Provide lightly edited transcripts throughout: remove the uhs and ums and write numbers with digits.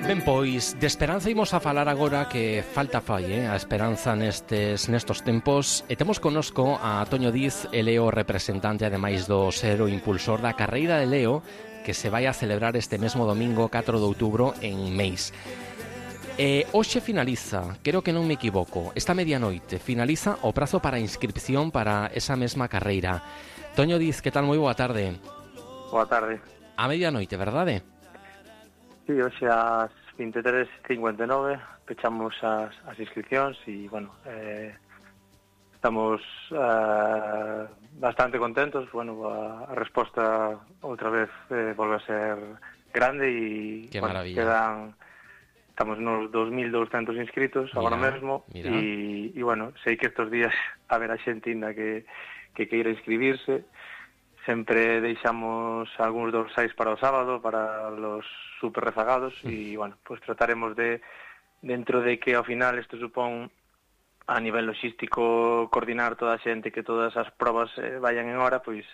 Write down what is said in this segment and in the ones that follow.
Ben, pois, de esperanza imos a falar agora, que falta fai, a esperanza nestos tempos. E temos connosco a Toño Diz, el é o representante, ademais do ser o impulsor da carreira de Leo, que se vai a celebrar este mesmo domingo 4 de outubro en Meis. Hoxe finaliza, creo que non me equivoco, esta medianoite finaliza o prazo para inscripción para esa mesma carreira. Toño Diz, que tal? Moi boa tarde. Boa tarde. A medianoite, verdade? Sí, hoxe ás 23:59 pechamos as inscripcións e, bueno, estamos bastante contentos. Bueno, a resposta outra vez volve a ser grande e, que bueno, maravilla. Estamos nos 2.200 inscritos agora mesmo e, bueno, sei que estes días haberá xente ainda que queira inscribirse. Sempre deixamos algúns dorsais para o sábado, para los super rezagados, e, bueno, pues trataremos de, dentro de que ao final isto supón a nivel logístico coordinar toda a xente, que todas as probas vayan en hora, pois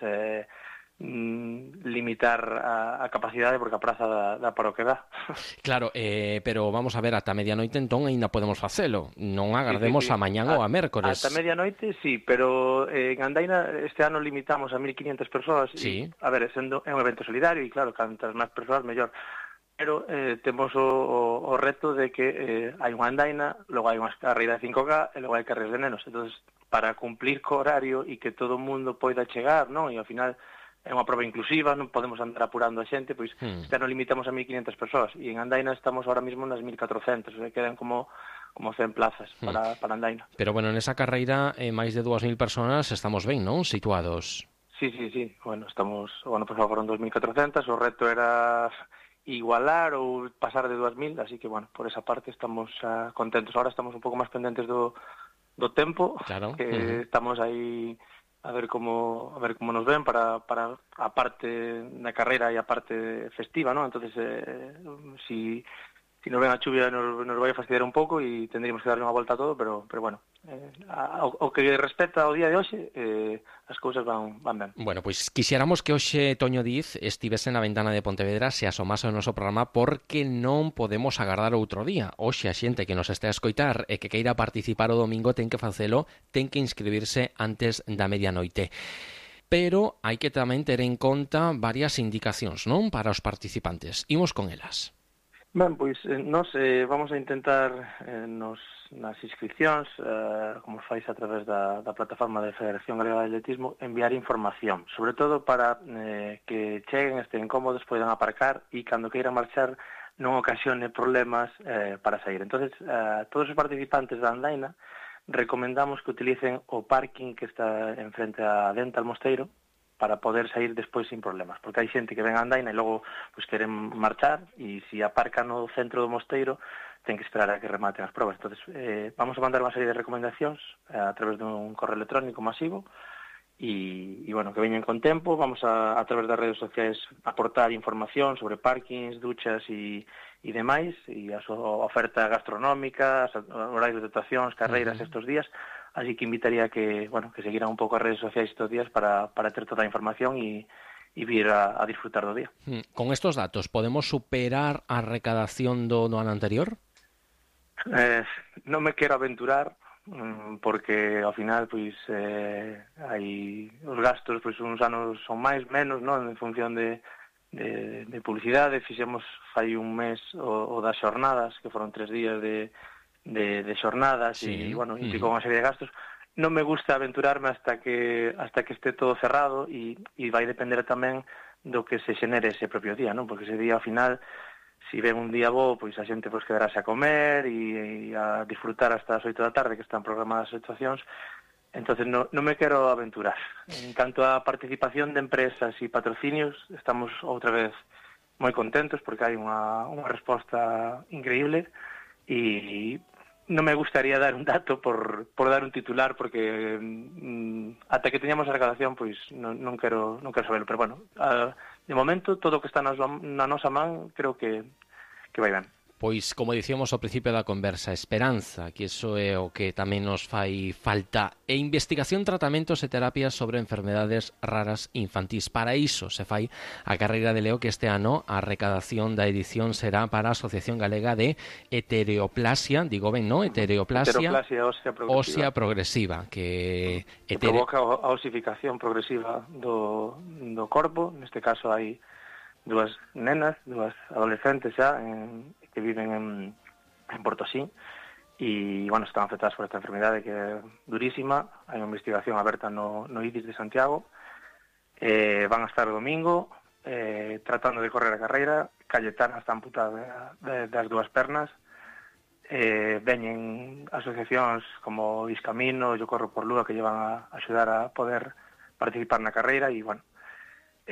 limitar a capacidade, porque a praza dá para o que dá. Claro, pero vamos a ver, ata medianoite entón aínda podemos facelo. Non agardemos sí. A mañán ou a mércores. Ata medianoite, sí, pero en Andaina este ano limitamos a 1.500 persoas. Sí. A ver, sendo é un evento solidario e, claro, cantas máis persoas, mellor. Pero temos o reto de que hai unha andaina, logo hai unha carreira de 5K e logo hai carreiras de nenos. Entón, para cumplir co horario e que todo o mundo poida chegar, non? E ao final é unha prova inclusiva, non podemos andar apurando a xente, pois este ano limitamos a 1.500 persoas e en Andaina estamos ahora mismo nas 1.400, quedan como 100 plazas para Andaina. Pero bueno, nesa carreira máis de 2.000 personas estamos ben, non? Situados. Sí. Bueno, por favor, foron 2.400, o reto era igualar ou pasar de 2.000, así que, bueno, por esa parte estamos contentos. Ahora estamos un pouco máis pendentes do tempo, claro. Que estamos aí a ver como nos ven para a parte da carreira e a parte festiva, ¿no? Entonces, si nos ven a chuvia nos vai a fastidiar un pouco e tendríamos que darle unha volta a todo, pero bueno, o que respecta ao día de hoxe, as cousas van ben. Bueno, pois quixéramos que hoxe Toño Diz estivese na ventana de Pontevedra, se asomase ao noso programa, porque non podemos agardar outro día. Hoxe a xente que nos este a escoitar e que queira participar o domingo ten que facelo, ten que inscribirse antes da medianoite. Pero hai que tamén ter en conta varias indicacións, non? Para os participantes. Imos con elas. Ben, pois nos vamos a intentar nas inscripcións, como fais a través da plataforma da Federación Galega de Atletismo, enviar información, sobre todo para que cheguen, estén cómodos, poidan aparcar e cando queiran marchar non ocasione problemas para sair. Entonces, todos os participantes da andaina recomendamos que utilicen o parking que está en frente a Dental Mosteiro para poder sair despois sin problemas, porque hai xente que ven a andaina e logo pues queren marchar e se aparca no centro do mosteiro ten que esperar a que rematen as probas. Entonces, vamos a mandar unha serie de recomendacións a través dun correo electrónico masivo e bueno, que veñen con tempo. Vamos a través das redes sociais aportar información sobre parkings, duchas e demais, e a súa oferta gastronómica, horarios de actuacións, carreiras estes días. Así que invitaría que, bueno, que seguiran un pouco as redes sociais estes días para ter toda a información e vir a disfrutar do día. Con estos datos, podemos superar a recadación do ano anterior? Non me quero aventurar, porque ao final, pois, hai os gastos, pois, uns anos son máis, menos, non? En función de publicidade. Fixemos fai un mes o das xornadas, que foron 3 días de xornadas, e, bueno, implicou unha serie de gastos. Non me gusta aventurarme hasta que este todo cerrado e vai depender tamén do que se xenere ese propio día, non? Porque ese día, ao final, si ven un día bo, pois a xente pois quedarase a comer e a disfrutar hasta as 8 da tarde, que están programadas as actuacións. Entonces non me quero aventurar. En canto a participación de empresas e patrocinios, estamos outra vez moi contentos porque hai unha resposta increíble e non me gustaría dar un dato por dar un titular, porque ata que teñamos a recadación, pois non quero saberlo, pero bueno, de momento todo o que está na nosa man creo que vai ben. Pois, como dicíamos ao principio da conversa, esperanza, que iso é o que tamén nos fai falta, e investigación, tratamentos e terapias sobre enfermedades raras infantís. Para iso se fai a carreira de Leo, que este ano a recadación da edición será para a Asociación Galega de Heteroplasia, digo ben, non? Heteroplasia ósea progresiva, que provoca a osificación progresiva do corpo. Neste caso hai dúas nenas, dúas adolescentes xa, que viven en Portosín, e, bueno, están afectadas por esta enfermedade que é durísima. Hai unha investigación aberta no IDIS de Santiago. Van a estar o domingo tratando de correr a carreira. Cayetana está amputada das dúas pernas. Veñen asociacións como Iscamino, Yo Corro por Lúa, que llevan a axudar a poder participar na carreira, e, bueno,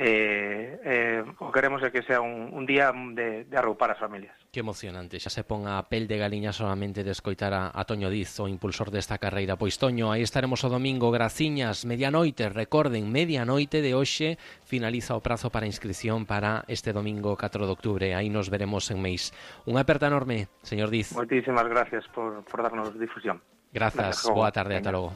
o que queremos é que sea un día de arroupar as familias. Que emocionante, xa se pon a pel de galiña solamente de escoitar a Toño Diz, o impulsor desta carreira. Pois, Toño, aí estaremos o domingo, graciñas, medianoite, recorden, medianoite de hoxe finaliza o prazo para inscripción para este domingo 4 de octubre, aí nos veremos en Meis. Unha aperta enorme, señor Diz. Moitísimas gracias por darnos difusión. Grazas, boa tarde, ata logo.